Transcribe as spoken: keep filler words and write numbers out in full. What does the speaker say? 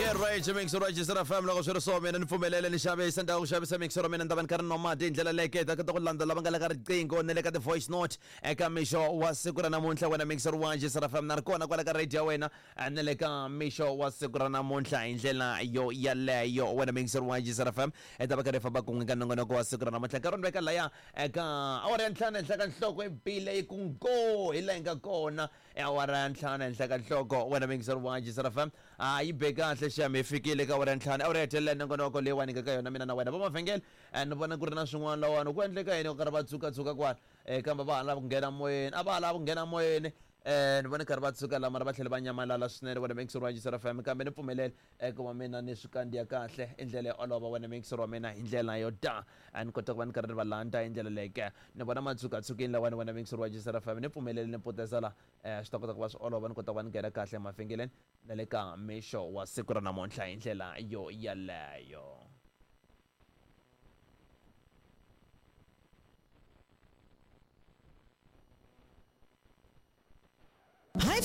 Okay, right, mixer right Jisara F M loko swi ri so mina ni pfumelele ni xavisa ni ta ku xavisa mixer wa mina ni ta va ni karhi ni nwa mati hi ndlela leyi ta kota ku landza lava nga le ka riqingho na le ka ti-voice note eka mixo wa siku ra namuntlha wena mixer wa Jisara F M na ri kona kwala ka radio ya wena na le ka mixo wa siku ra namuntlha hi ndlela yo yaleyo wena mixer wa Jisara F M hi ta va karhi hi famba kun'we ka nongonoko wa siku ra namuntlha nkarhi ni veka laya eka awara ya ntlhanu henhla ka nhloko i bile yi ku ngo hi laha yi nga kona awara ya ntlhanu henhla ka nhloko wena mixer wa Jisara F M a yi be kahle xem hi fikile ka awara ya ntlhanu awara ya hetelela nongonoko leyiwani nga ka yona mina na wena va mavhengele ni vona ku ri na swin'wana lawani ku endleka yini ku karhi va tsukatsuka kwala um kambe va ha lava ku nghena moyeni a va ha lava ku nghena moyeni um ni vona karhi va tshuka la mara va tlhela va nyamalala swinene wena mixer wa Jisara F M kambe ni pfumelele ku va mina ni swi kandziya kahle i ndlela yo olova wena mixer wa mina hi ndlela yo ta a ni kota ku va ni karhi ni va landza hi ndlela leyi ke ni vona matshukatshukini lawani wena mixer wa Jisara F M ni pfumelele ni puteza la um swi ta kota ku va swi olova ni kota ku va ni nghena kahle emavhengeleni na le ka mixo wa siku ra namuntlha hi ndlela yo yaleyo. Hi